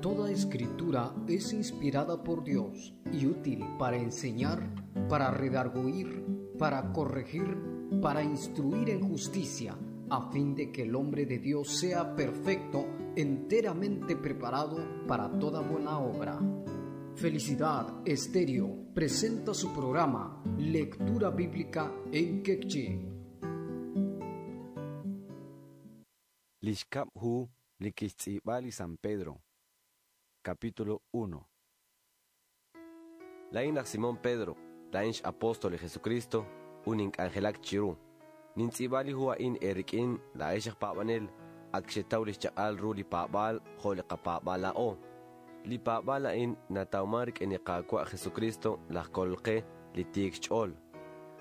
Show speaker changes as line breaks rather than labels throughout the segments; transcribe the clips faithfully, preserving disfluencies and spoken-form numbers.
Toda escritura es inspirada por Dios y útil para enseñar, para redarguir, para corregir, para instruir en justicia, a fin de que el hombre de Dios sea perfecto, enteramente preparado para toda buena obra. Felicidad Estéreo presenta su programa Lectura Bíblica en Quechí.
Lixkab hu likixtz'ib'al San Pedro. Capítulo uno. Lain laj Simón Pedro, lain apóstol de Jesucristo, unin angelak chiru. Nintz'ib'al hu a'in erik'in la'ex aj pa'b'anel, ak xetaw lix chaq'al ru li pa'b'al jo' li qapa'b'al la'o. Li pa'b'al a'in natawman rik'in li Qaawa' Jesucristo laj kolqe li tiik xch'ool.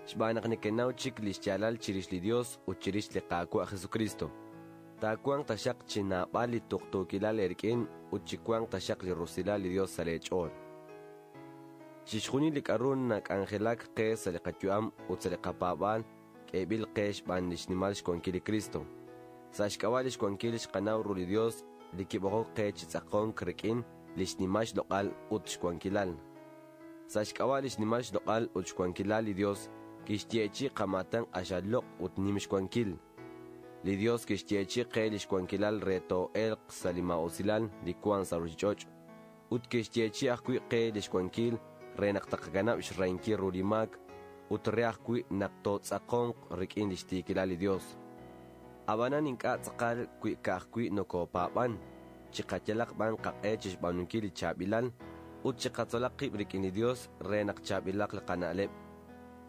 Xb'aan naq nekenaw chik li xyaalal chirix li Dios ut chirix li Qaawa' Jesucristo. Taakuanq taxaq chi naab'al li tuqtuukilal erik'in ut chikuanq taxaq li rusilal li Dios sa' leech'ool. Chixjunil li k'a'ru nak'anjelak qe sa' li qayu'am ut sa' li qapaab'al k'eeb'il qe xb'aan li xnimal xwankil li Cristo. Sa' xk'ab'a' li xwankil xqanaw ru li Dios li kib'oqok qe chi tz'aqonk rik'in li xnimal xloq'al ut xwankilal. Sa' xk'ab'a' li xnimal xloq'al ut xwankilal li Dios kixyeechi qamatan q'axal loq' ut nim xwankil. Li Dios kixyeechi qe li xwankilal re too'elq sa' li ma'usilal li wan sa' ruchich'och' ut kixyeechi ajwi' qe li xwankil re naq taqakanab' xrahinkil ru li maak ut re ajwi' naq tootz'aqonq rik'in li xtiikilal li Dios. Ab'anan ink'a' tz'aqal wi ka'ajwi' nokopaab'an, chiqayalaq b'an qaq'e chixb'aanunkil li chaab'ilal ut chiqatzolaq qib' rik'in li Dios re naq chaab'ilaq li qana'leb'.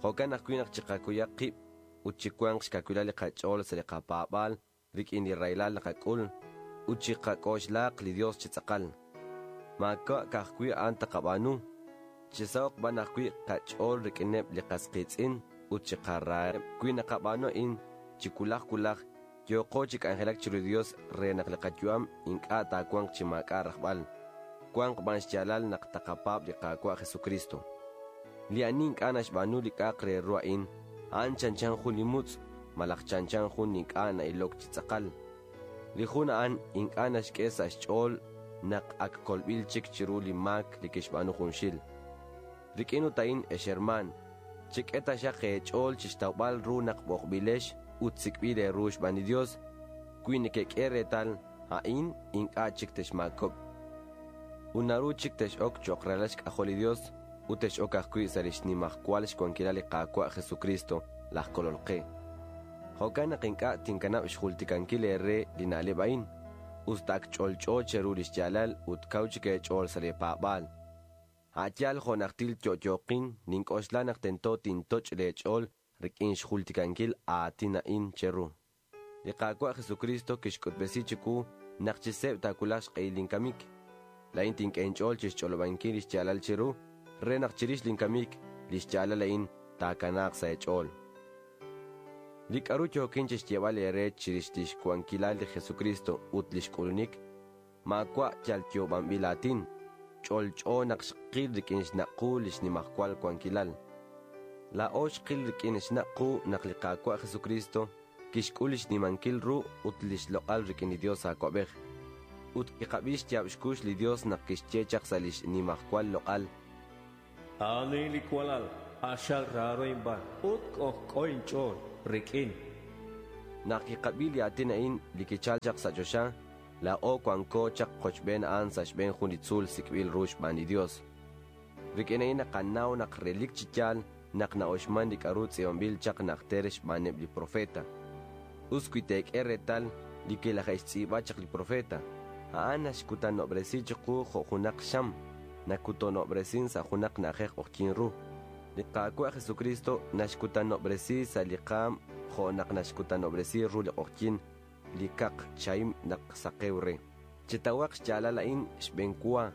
Jo'kan ajwi' naq chiqakuyaq qib' ut chikuanq xkawilal li qach'ool sa' li qapaab'al rik'in li rahilal naqak'ul ut chiqak'oxlaq li Dios chi tz'aqal. Maawa' ka'ajwi' a'an taqab'aanu, chisahoq b'an ajwi' qach'ool rik'ineb' li qasqiitz'in ut chiqaraheb' wi naqab'aanu a'in chi kulaj kulaj yooqo chi k'anjelak chiru li Dios re naq li qayu'am ink'a' taawanq chi maak'a' rajb'al. Wanq b'an xyaalal naq taqapaab' li Qaawa' Jesucristo. Li ani ink'a' naxb'aanu li k'a'aq re ru a'in, a'an chanchan jun li mutz' malaj chanchan jun ink'a' na'ilok chi tz'aqal. Li jun a'an ink'a' naxk'e sa' xch'ool naq ak kolb'il chik chiru li maak li kixb'aanu junxil. Rik'in ut a'in ex hermaan, chik'e taxaq eech'ool chixtawb'al ru naq b'oqb'ilex ut sik'b'il eeru xb'aan li Dios, wi nekek'e reetal a'in ink'a' chik texmaakob'. Ut naru chik tex'ok cho'q ralal xk'ajol li Dios ut tex'ok ajwi' sa' li xnimajwal xwankilal li Qaawa' Jesucristo laj kolol qe. Jo'kan naq ink'a' tinkanab' xjultikankil eere li na'leb' a'in, us ta ak ch'olch'o cheru li xyaalal ut kaw chik eech'ool sa' li paab'aal. A'yaal jo' najtil yo'yo'qin nink'oxla naq tento tintoch' leech'ool rik'in xjultikankil aatin a'in cheru. Li Qaawa' Jesucristo kixk'utb'esi chiwu naq chiseb' taawulaq xq'ehil linkamik. La'in tink'e inch'ool chixch'olob'ankil li xyaalal cheru re naq chirix linkamik li xyaalal a'in taakanaaq sa' eech'ool. Li k'a'ru yookin chixyeeb'al eere chirix li xwankilal li Jesucristo ut li xk'ulunik, maawa' yal yoob'anb'il aatin, ch'olch'o naq xqil rik'in xnaq'u li xnimajwal wankilal. Laa'o xqil rik'in xnaq'u naq li Qaawa' Jesucristo kixk'ul li xnimankil ru ut li xloq'al rik'in li Dios Aawab'ej. Ut kiqab'i xyaab' xkux li Dios naq kixye chaq sa' li xnimajwal loq'al.
Ani li walal q'axal raaro inb'aan ut k'ojk'o inch'ool rik'in.
Naq kiqab'i li aatin a'in li kichal chaq sa' choxa, laa'o wanko chaq qochb'een a'an sa' xb'een jun li tzuul sik'b'il ru xb'aan li Dios. Rik'in a'in naqanaw naq relik chi yaal naq na'oxman li k'a'ru tz'iib'anb'il chaq najter xb'aaneb' li profeta. Us wi teek'e reetal li kilaje'xtz'iib'a chaq li profeta, a'an naxkutanob'resi chiqu jo' junaq xam, nakutanob'resin sa' junaq na'ajej q'oqyin ru. Li Qaawa' Jesucristo naxkutanob'resi sa' li qaam jo' naq naxkutanob'resi ru li q'oqyin li kaq chaim naq saqew re. Chitawaq xyaalal a'in xb'een wa,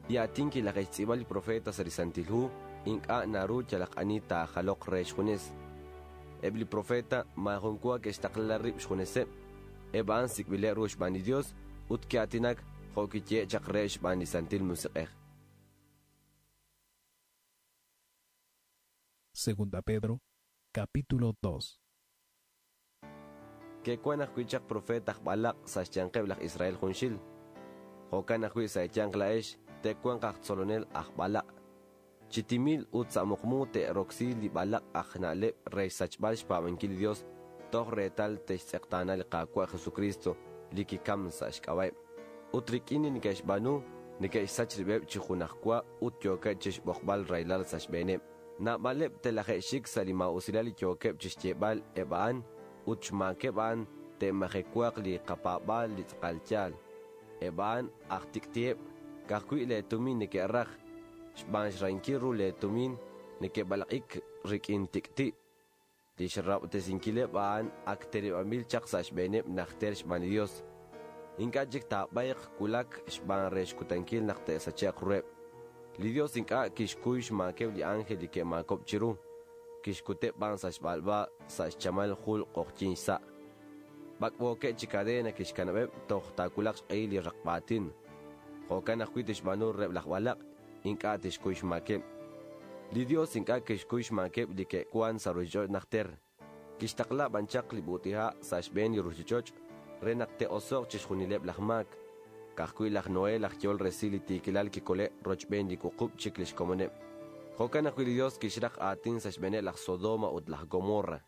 li aatin kilaje'xtz'iib'a li profeta sa' li Santil Hu ink'a' naru yalaq ani taajaloq re xjunes. Eb' li profeta maajun wa ke'xtaqla rib' xjuneseb', eb' a'an sik'b'ileb' ru xb'aan li Dios ut ki'aatinak jo' kiyehe' chaq re xb'aan li Santil Musiq'ej.
Segunda Pedro, capítulo dos.
Ke'wan ajwi' chaq profeta aj b'alaq' sa' xyanqeb' laj Israel junxil. Jo'kan ajwi' sa' eeyanq laa'ex te'wanq aj tzolonel aj b'alaq'. Chi timil ut sa' muqmu te'roksi li b'alaq' aj na'leb' re xsachb'al xpaab'ankil li Dios toj reetal te'xtz'eqtaana li Qaawa' Jesucristo li kikam sa' xk'ab'a'eb'. Ut rik'in li neke'xb'aanu neke'xsach rib'eb' chi junajwa ut yookeb' chixb'oqb'al rahilal sa' xb'eeneb'. Naab'aleb' telaje'xik sa' li maa'usilal li yookeb' chixyeeb'al eb' a'an ut xmaakeb' a'an te'majewaaq li qapaab'aal li tz'aqal yaal. Eb' a'an aj tik'ti'eb' ka'ajwi' leetumin neke'raj xb'aan xrahinkil ru leetumin neke'b'alaq'ik rik'in tik'ti'. Li xrab'tesinkileb' a'an ak terib'anb'il chaq sa' xb'eeneb' najter xb'aan li Dios. Ink'a' chik taab'ayq wulak xb'aan re xkutankil naq te'sache'q ruheb'. Li Dios ink'a' kixkuy xmaakeb' li ángel li ke'maakob' chiru. Kixkuteb' b'an sa' xb'alb'a sa' xchamal jul q'oqyink xsa'. B'ak'b'ookeb' chi cadena kixkanab'eb' toj taawulaq xq'ehil li raqb'aatin. Jo'kan ajwi' tixb'aanu reheb' laj b'alaq', ink'a' tixkuy xmaakeb'. Li Dios ink'a' kixkuy xmaakeb' li ke'wan sa' ruchich'och' najter. Kixtaqla b'an chaq li b'ut'iha' sa' xb'een li ruchich'och' re naq te'oso'q chixjunileb' laj maak. Ka'ajwi' laj Noé laj yool resil li tiikilal kikole' rochb'een li wuqub' chik li xkomoneb'. Jo'kan ajwi' li Dios kixraq aatin sa' xb'eeneb' laj Sodoma ut laj Gomorra.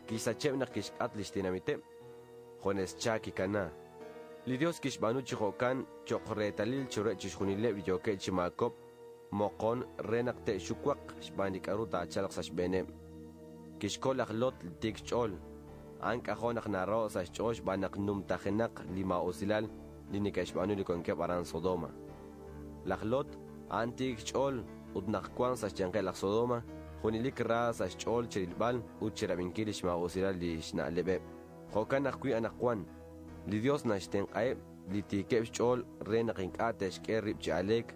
Kixsacheb' naq kixk'at li xtinamiteb'. Jones cha kikana. Li Dios kixb'aanu chi jo'kan cho'q reetalil chiruheb' chixjunileb' li yookeb' chi maakob' moqon re naq te'xuwaq xb'aan li k'aru taachalq sa' xb'eeneb'. Kixkol laj Lot li tiik xch'ool. A'an k'ajo' naq naraho' sa' xch'ool xb'aan naq numtajenaq li maa'usilal li neke'xb'aanu li wankeb' aran Sodoma. Laj Lot a'an tiik xch'ool ut naq wank sa' xyanqeb' laj Sodoma, junelik ra sa' xch'ool chirilb'al ut chirab'inkil li xmaa'usilal li xna'leb'eb'. Jo'kan ajwi' anaqwan, li Dios naxtenq'aheb' li tiikeb' xch'ool re naq ink'a' te'xk'e rib' chi aleek,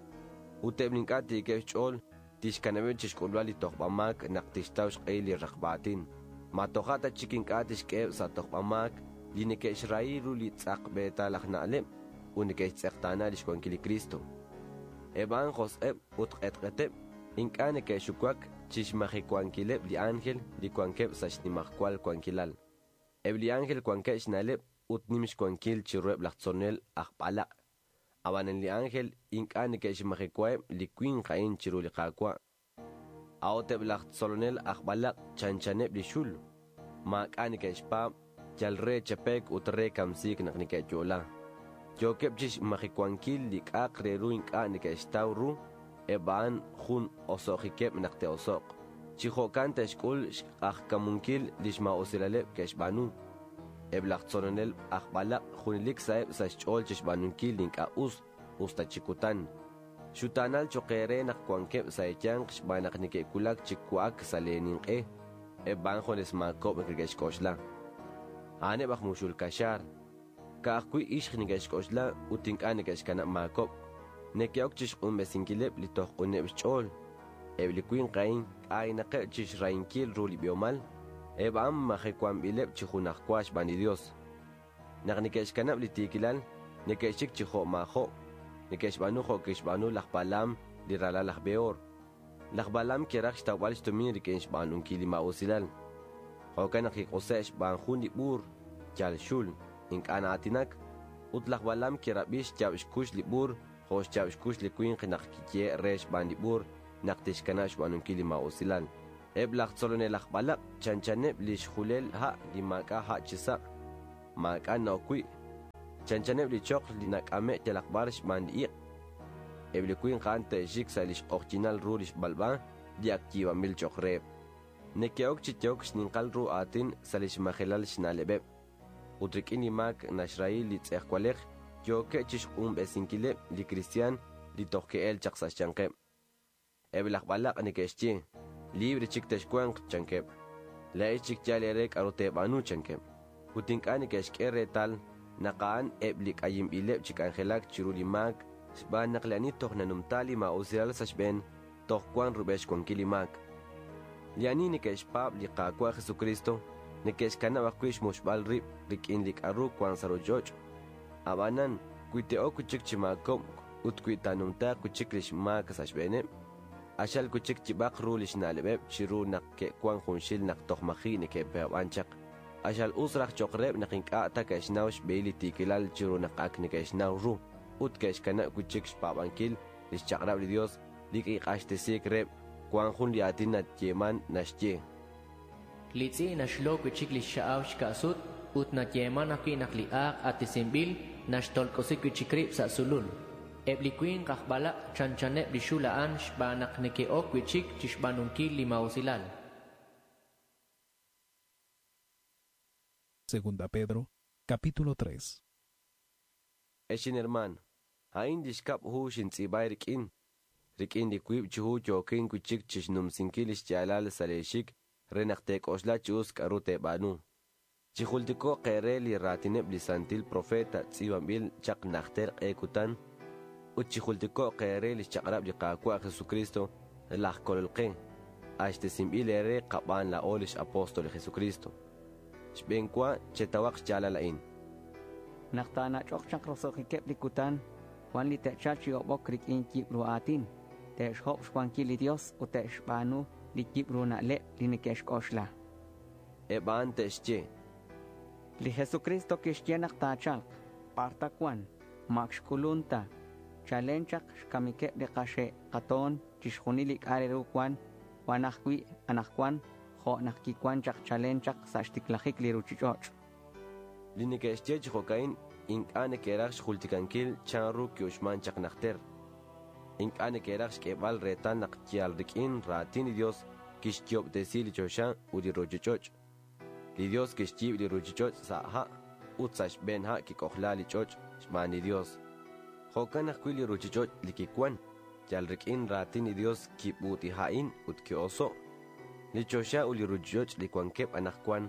ut eb' li ink'a' tiikeb' xch'ool tixkanab'eb' chixk'ulb'al li tojb'amaak naq tixtaw xq'ehil li raqb'aatin. Ma toja' ta chik ink'a' tixk'eheb' sa' tojb'amaak li neke'xrahi ru li tz'aqb'eetal aj na'leb' ut neke'xtz'eqtaana li xwankil li Cristo. Eb' a'an josq'eb' ut q'etq'eteb' ink'a' neke'xuwak chixmajewankileb' li ángel li wankeb' sa' xnimajwal wankilal. Eb' li ángel wankeb' xna'leb' ut nim xwankil chiruheb' laj tzolonel aj b'alaq'. Ab'anan li ángel ink'a' neke'xmajewaheb' li winq a'in chiru li Qaawa'. A'ut eb' laj tzolonel aj b'alaq' chanchaneb' li xul. Maak'a' neke'xpaab' yal re chapek ut re kamsiik naq neke'yo'la. Yookeb' chixmajewankil li k'a'aq re ru ink'a' neke'xtaw ru, eb' a'an jun oso'jikeb' naq te'oso'q. Chi jo'kan te'xk'ul xq'ajkamunkil li xmaa'usilaleb' ke'xb'aanu. Eb' laj tzolonel aj b'alaq' junelik sa'eb' sa' xch'ool chixb'aanunkil li ink'a' us, us ta chi kutan. Xutaanal cho'q eere naq wankeb' sa' eeyanq xb'aan naq neke'wulak chi wa'ak sa' leeninq'e, eb' a'an jones maakob' neke'xk'oxla. A'aneb' aj muxul kaxaar. Ka'ajwi' ixq neke'xk'oxla ut ink'a' neke'xkanab' maakob'. Neke'ok chixq'unb'esinkileb' li toj q'uneb' xch'ool. Eb' li winq a'in k'aynaqeb' chixrahinkil ru li b'ihomal, eb' a'an majewanb'ileb' chi junajwa xb'aan li Dios. Naq neke'xkanab' li tiikilal, neke'xik chi jo' maajo', neke'xb'aanu jo' kixb'aanu laj Balaam li ralal laj Beor. Laj Balaam kiraj xtawb'al xtumin rik'in xb'aanunkil li maa'usilal. Jo'kan naq kiq'use' xb'aan jun li b'uur, yal xul, ink'a' na'aatinak, ut laj Balaam kirab'i xyaab' xkux li b'uur jo' xyaab' xkux li winq naq kiyehe' re xb'aan li b'uur naq tixkanab' xb'aanunkil li maa'usilal. Eb' laj tzolonel aj b'alaq' chanchaneb' li xjulel ha' li maak'a' ha' chi sa', maak'a' na'ok wi'. Chanchaneb' li choql li nak'ame' yalaq b'ar xb'aan li iq'. Eb' li winq a'an te'xik sa' li xq'oqyinal ru li xb'alb'a li ak yiib'anb'il cho'q reheb'. Neke'ok chi yehok xninqal ru aatin sa' li xmajelal xna'leb'eb'. Ut rik'in li maak naxrahi li tz'ejwalej yookeb' chixq'unb'esinkileb' li kristiaan li toj ke'el chaq sa' xyanqeb'. Eb' laj b'alaq' neke'xye, libre chik texwanq chankeb'. Laa'ex chik yaal eere k'aru teeb'aanu chankeb'. Ut ink'a' neke'xk'e reetal naq a'an eb' li k'ayinb'ileb' chi k'anjelak chiru li maak xb'aan naq li ani toj nanumta li maa'usilal sa' xb'een toj wank rub'el xwankil li maak. Li ani neke'xpaab' li Qaawa' Jesucristo neke'xkanab' ajwi' xmuxb'al rib' rik'in li k'aru wank sa' ruchich'och'. Ab'anan, wi te'ok wi' chik chi maakob' ut wi taanumtaaq wi' chik li xmaak sa' xb'eeneb', axal wi' chik yib'aq ru li xna'leb'eb' chiru naq ke'wank junxil naq toj maji' neke'paab'an chaq. Axal us raj cho'q reheb' naq ink'a' ta ke'xnaw xb'ehil li tiikilal chiru naq ak neke'xnaw ru. ut ke'xkanab' wi' chik xpaab'ankil li xchaq'rab' li Dios li kiq'axtesiik reheb' wan jun li aatin nayeeman naxye.
Li tz'i' naxlo wi' chik li xxa'aw xka'sut ut nayeeman ajwi' naq li aaq atisinb'il naxtolk'osi wi' chik rib' sa' sulul. Eb' li winq aj b'alaq' chanchaneb' li xul a'an xb'aan naq neke'ok wi' chik chixb'aanunkil li mausilal.
Segunda Pedro, capítulo tres.
Exin hermano, a'in li xkab' hu xintz'iib'ay rik'in. Rik'in li wiib' chi hu yookin wi' chik chixnumsinkil li xyaalal sa' leexik re naq teek'oxla chi us k'aru teeb'aanu. Chijultiko'q eere li raatineb' li santil profeta tz'iib'anb'il chaq najter q'e kutan ut chijultiko'q eere li xchaq'rab' li Qaawa' Jesucristo laj Kolol qe, axtesinb'il eere qab'aan laa'o lix apóstol li Jesucristo. Xb'eenwa chetawaq xyaalal a'in.
Naq taanach'oq chaq roso'jikeb' li kutan, wan li te'chalq chi ob'ok rik'in yib' ru aatin, te'xhob' xwankil li Dios ut te'xb'aanu li yib' ru na'leb' li neke'xk'oxla.
Eb' a'an te'xye.
Li Jesucristo kixye naq taachalq, b'ar ta wan, mak xk'ulun ta. Chalen chaq xkamikeb' li qaxe' qatoon chixjunil li k'a' re ru wan, wan ajwi' anaqwan jo' naq kiwan chaq chalen chaq sa' xtiklajik li ruchich'och'.
Li neke'xye chi jo'ka'in ink'a' neke'raj xjultikankil chanru ki'uxman chaq najter. Ink'a' neke'raj xk'eeb'al reetal naq yal rik'in raatin li Dios kixyoob'tesi li choxa ut li ruchich'och'. Li Dios kixyiib' li ruchich'och' sa' ha' ut sa' xb'een ha' kik'ojla li ch'och' xb'aan li Dios. Jo'kan ajwi' li ruchich'och' li kiwan, yal rik'in raatin li Dios kib'utiha'in ut ki'oso'. Li choxa ut li ruchich'och' li wankeb' anaqwan,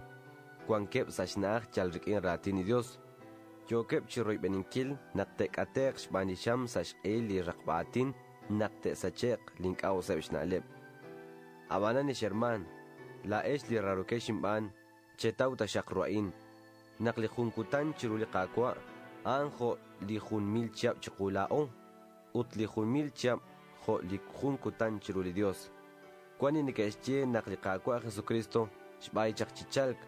wankeb' sa' xna'aj yal rik'in raatin li Dios. Yookeb' chi royb'eninkil naq te'k'ate'q xb'aan li xam sa' xq'ehil li raqb'aatin naq te'sache'q li ink'a' useb' xna'leb'. Ab'anan ex hermaan, laa'ex li rarokex inb'aan, chetaw taxaq ru a'in. Naq li jun kutan chiru li Qaawa' a'an jo' li jun mil chihab' chiqu laa'o, ut li jun mil chihab' jo' li jun kutan chiru li Dios. Wan li neke'xye naq li Qaawa' Jesucristo xb'ay chaq chi chalk,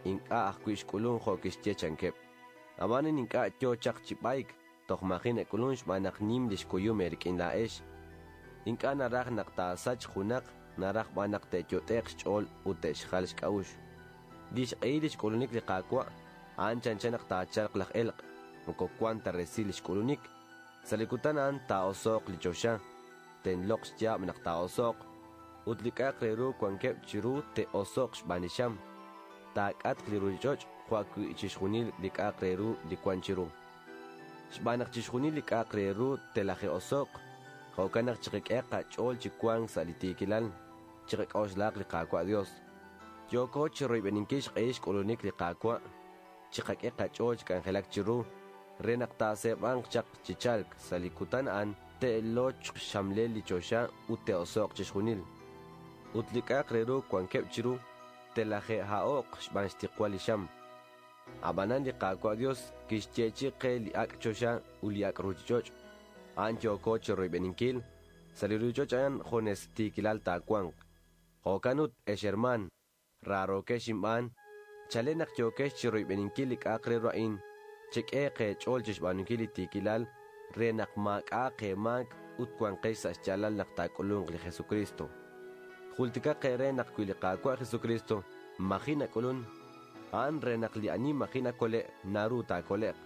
ink'a' ajwi' xk'ulun jo' kixye chankeb'. Ab'anan ink'a' yo chaq chi b'ayk, toj maji nak'ulun xb'aan naq nim li xkuyum eerik'in laa'ex. Ink'a' naraj naq taasach junaq, naraj b'an naq te'yot'e'q xch'ool ut te'xjal xk'a'uxl. Li xq'ehil li xk'ulunik li Qaawa' a'an chanchan naq taachalq laj elq', moko wan ta resil li xk'ulunik. Sa' li kutan a'an taa'oso'q li choxa, tenloq xyaab' naq taa'oso'q, ut li k'a'aq re ru wankeb' chiru te'oso'q xb'aan li xam. Taak'atq li ruchich'och' jo' ajwi' chixjunil li k'a'aq re ru li wan chiru. Xb'aan naq chixjunil li k'a'aq re ru telaje'oso'q, jo'kan naq chiqak'e qach'ool chi wank sa' li tiikilal, chiqak'oxlaq li Qaawa' Dios. Yooko chi royb'eninkil xq'ehil xk'ulunik li Qaawa', chiqak'e qach'ool chi k'anjelak chiru, re naq taaseeb'anq chaq chi chalk sa' li kutan a'an te'lochq xxamlel li choxa ut te'oso'q chixjunil. Ut li k'a'aq re ru wankeb' chiru telaje'ha'o'q xb'aan xtiqwal li xam. Ab'anan li Qaawa' Dios kixyeechi qe li ak' choxa ut li ak' ruchich'och'. A'an yooko chi royb'eninkil, sa' li ruchich'och' a'an junes tiikilal taawanq. Jo'kan ut, ex hermaan, raarokex inb'aan, chalen naq yookex chi royb'eninkil li k'a'aq re ru a'in, chek'e qeech'ool chixb'aanunkil li tiikilal re naq maak'a'aq eemaak ut wanqex sa' xyaalal naq taak'ulunq li Jesucristo. Jultikaq eere naq wi li Qaawa' Jesucristo maji nak'ulun, a'an re naq li ani maji nakole' naru taakole'q.